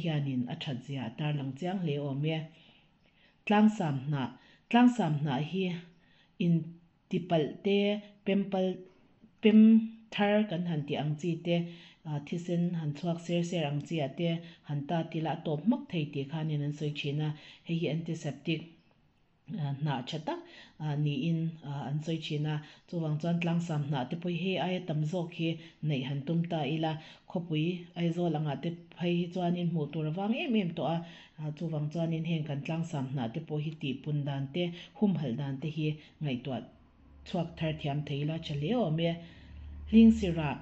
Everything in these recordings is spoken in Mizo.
Hianin a that zia a tarlang chiang hle awm e. Tlangsam hnah, Tlangsam hnah hi in tipalh te, pempal, pem thar kan han tih ang chi te, thisen han chhuak ser ser ang chi ah te han tat ila a tawp hmak thei tih khanin an sawi thin a, hei hi antiseptic. hnah tha tak niin an sawi thin a, chuvang chuan tlangsam hnah te pawh hi hei aia tam zawk hi neih han tum ta ila, khawpui Aizawl angah te phei hi chuanin hmuh tur a vang em em tawh a, chuvang chuanin heng kan tlangsam hnah te pawh hi tihpun dan te, humhalh dan te hi ngaihtuah Chhuak thar thiam thei ila tha hle awm e. Hlingsirah,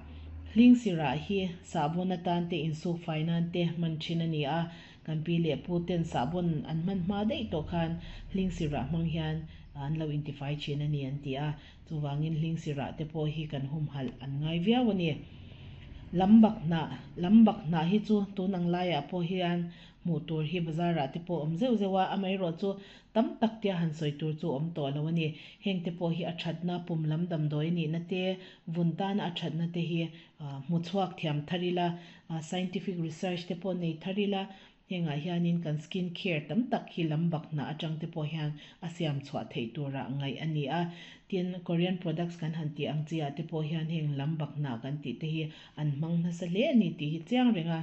Hlingsirah hi sahbawn atan te insuk fai nan te hman thin a ni a, kan pi leh pu ten sahbawn an hman hma daih tawh khan hlingsirah hmang hian an lo intifai thin a ni an ti a, chuvangin hlingsirah te pawh hi kan humhalh an ngai viau a ni. Lambak hnah, Lambak hnah hi chu tun ang laiah pawh hian hmuh tur hi bazar ah te pawh awm zeuh zeuh a, amaherawh chu Tam tak tia han sawi tur chu awm tawh lo a ni. Heng te pawh hi a thatna, pum lam damdawi nihna te, vun tana a thatna te hi hmu chhuak thiam thar ila, scientific research te pawh nei thar ila, hengah hianin kan skin care tam tak hi lam bak hnah atang te pawh hian a siam chhuah theih tura ngaih a ni a. Tin, Korean products kan han tih ang chi ah te pawh hian heng lam bak hnah kan tih te hi an hmang nasa hle a ni tih hi chiang reng a.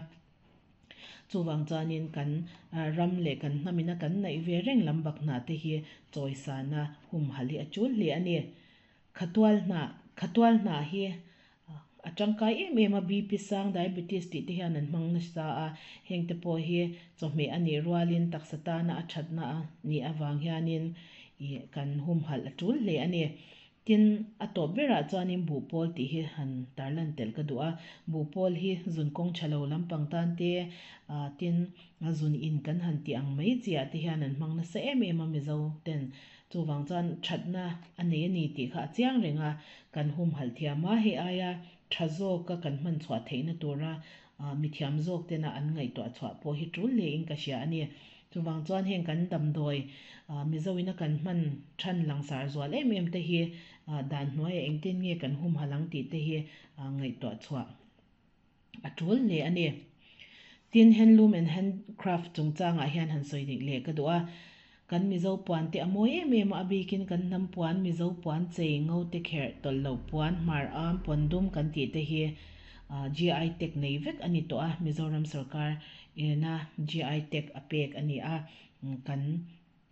Chuvang chuanin kan ram leh kan hnamina kan naih ve reng lam bak hnah te hi chawisana humhalh hi a tul hle a ni. Khatual hnah, Khatual hnah hi a tangkai em em a, BP sang, diabetes tih te hian an hmang nasa a, heng te pawh hi chawhmeh a nih rualin taksa tana a thatna a nih avang hianin ih kan humhalh a tul hle a ni. Tin, a tawp berah chuanin buhpawl tih hi han tarlan telh ka duh a. Buhpawl hi zun kawng tha lo lampang tan te, tin, zun in kan han tih ang mai chiah te hian an hmang nasa em em a Mizo ten. Chuvang chuan thatna a nei a ni tih kha a chiang reng a, kan humhalh thiam a, hei aia tha zawka kan hman chhuah theihna tura mithiam zawk tena an ngaihtuah chhuah pawh hi tul hlein ka hria a ni. Chuvang chuan heng kan damdawi Mizoina kan hman than langsar zual em em te hi dan hnuaiah engtin nge kan humhalh ang tih te hi ngaihtuah chhuah a tul hle a ni. Tin, handloom and handcraft chungchangah hian han sawi dik leh ka duh a. Kan Mizo puan te a mawi em em a, a bikin kan hnam puan, Mizo puan chei, ngo te kherh, tawlh loh puan, hmar am, puan dum kan tih te hi GI tag nei vek a ni tawh a, Mizoram sorkar ina GI tag a pek a ni a, kan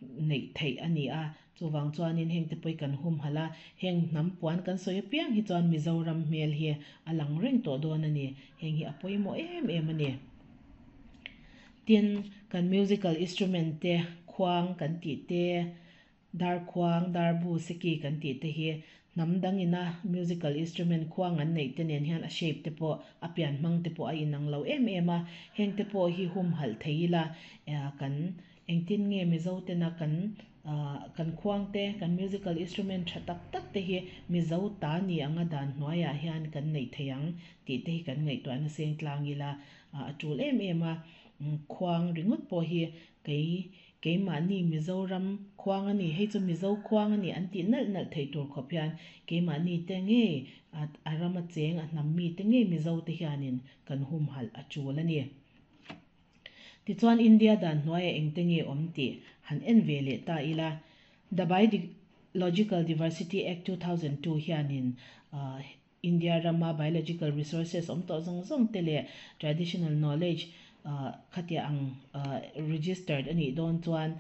neih theih a ni a, chuvang chuanin heng te pawh hi kan humhalh a, heng hnam puan kan sawi apiang hi chuan Mizoram hmel hi a lang reng tawh dawn a ni, heng hi a pawimawh em em a ni. Tin, kan musical instrument te, khuang kan tih te, darkhuang, darbu, seki kan tih te hi hnam dang ina musical instrument khuang an neih te nen hian a shape te pawh, a pian hmang te pawh a inang lo em em a, heng te pawh hi humhalh thei ila kan Engtin nge Mizo tena kan kan khuang te, kan musical instrument tha tak tak te hi Mizo ta ni anga dan hnuaiah hian kan neih thei ang tih te hi kan ngaihtuahna seng tlang ila a tul em em a. Khuang ringawt pawh hi kei keimahni Mizoram khuang a ni, hei chu Mizo khuang a ni an tih nalh nalh theih tur khawp hian keimahni te ngei a rama cheng a hnam mi te ngei Mizo te hianin kan humhalh a tul a ni. Tichuan India dan hnuaiah engte nge awm tih han en ve leh ta ila, The Biological Diversity Act 2002 hianin India rama biological resources awm tawh zawng zawng te leh traditional knowledge khatia ang registered a nih dawn chuan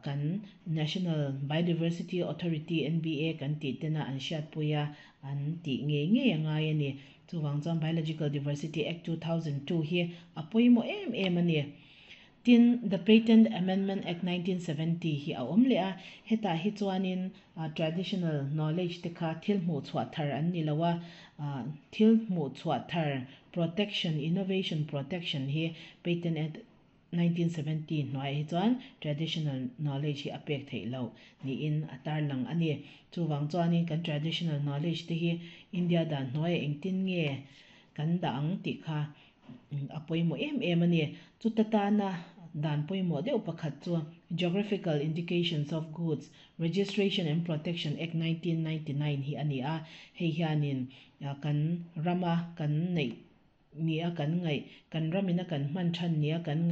kan National Biodiversity Authority, NBA, kan tih tena an hriatpui a, an tih ngei ngei a ngai a ni. Chuvang chuan Biological Diversity Act 2002 hi a pawimawh em em a ni. Tin, The Patent Amendment Act 1970 hi a awm leh a, hetah hi chuanin traditional knowledge te kha thil hmuhchhuah thar an ni lo a, thil hmuhchhuah thar protection, innovation protection hi Patent Act 1970 hnuaiah hi chuan traditional knowledge hi a pek theih loh niin a tarlang a ni. Chuvang chuanin kan traditional knowledge te hi India dan hnuaiah engtin nge kan dah ang tih kha a pawimawh em em a ni. Chuta tana dan pawimawh deuh pakhat chu Geographical Indications of Goods, Registration and Protection Act 1999 hi a ni a, hei hianin kan rama kan neih. Nia kan ngaih, kan ramina kan hman than nia kan ngaih.